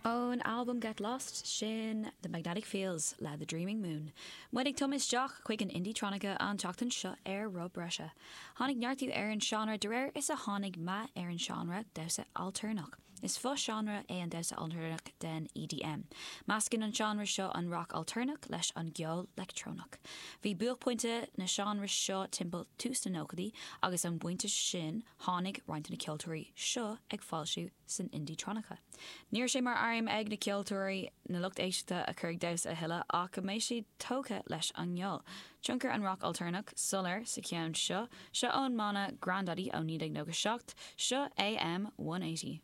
Ón albam Get Lost, sin The Magnetic Fields le The Dreaming Moon. Muid ag tumadh isteach chuig an indietronica an tseachtain seo ar Roth Breise. Tháinig neartú ar an seánra de réir is a tháinig meath ar an seánra damhsa ailtéarnach. Is fo-seánra é an damhsa ailtéarnach den EDM. Meascann an seánra seo an rac ailtéarnach leis an gceol leictreonach. Bhí buaicphointe na seánra seo timpeall tús na nóchaidí agus ón bpointe sin tháinig roinnt de na ceoltóirí seo ag foilsiú san indietronica. Ní raibh sé mar aidhm ag na ceoltóirí na lucht éisteachta a chur ag damhsa a thuilleadh ach go mbeadh siad tógtha leis an gceol. Tionchar an rac ailtéarnach soiléir sa cheann seo. Seo ón mbanna Grandaddy ó 1997. Seo AM 180.